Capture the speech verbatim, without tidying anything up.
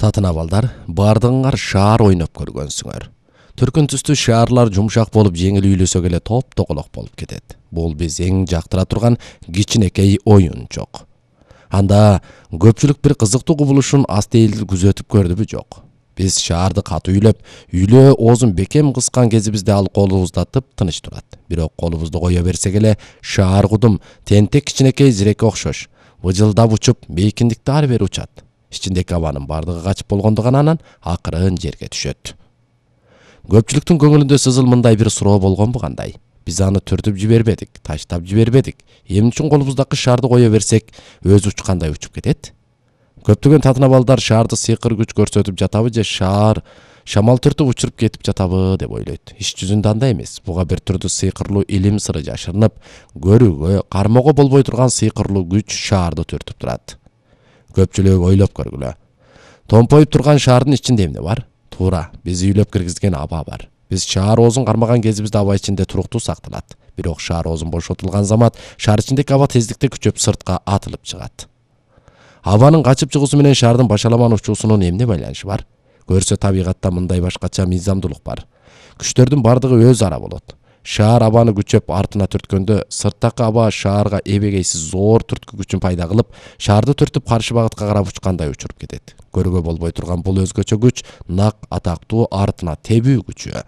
Татын абалдар, бардыгыңар шаар ойноп көргөнсүңөр. Түркүн түстүү шаарлар жумшак болуп жеңил үйлөсө келе топ-токолок болуп кетет. Бул биз эң жактыра турган кичинекей оюнчок. Анда көпчүлүк бир кызыктуу кубулушун астейил күзөтүп көрдүбү жок. Биз шаарды катуу үйлөп, үйлөө оозун бекем кыскан кезибизде ал колубузда тып-тыныч турат. Бирок колубузду кое берсек эле шаар кудум тентек кичинекей зиреке окшош, выжылдап учуп, бейкиндикти ары бери учат. Ичиндеки абанын бардыгы качып болгондуган анан акырын жерге түшөт. Көпчүлүктүн көңүлүндө сызыл мындай бир суроо болгонбу кандай? Биз аны түртүп жибербедик, таштап жибербедик. Эмне үчүн колубуздагы шаарды кое берсек, өзү учкандай учуп кетет? Көптөгөн татын абалдар шаарды сыйкыр күч көрсөтүп жатабы же шаар шамал түртүп учуруп кетип жатабы деп ойлойт. Иш жүзүндө андай эмес. Буга бир түрдүү сыйкырлуу илим сыры жашырынып, көрүүгө, кармоого болбой турган сыйкырлуу күч шаарды түртүп турат. Көпчүлүк ойлоп көргүлө. Томпоюп турган шаардын ичинде эмне бар? Туура, биз үйлөп киргизген аба бар. Биз шаар оозун кармаган кезибизде аба ичинде туруктуу сакталат. Бирок шаар оозун бошотулган замат шаар ичиндеки аба тездикте күчөп сыртка атылып чыгат. Абанын качып чыгуусу менен шаардын башаламан учуусунун эмне байланышы бар? Көрсө табигатта мындай башкача мыйзамдуулук бар. Күчтөрдүн бардыгы өз ара болот. Шаар абаны күчөп артына түрткөндө, сырттакы аба шаарга эбегейсиз зор түрткү күчүн пайда кылып, шаарды түртүп каршы багытка карап учкандай учуруп кетет. Көрүүгө болбой турган бул өзгөчө күч нак атактуу артына тебүү күчү.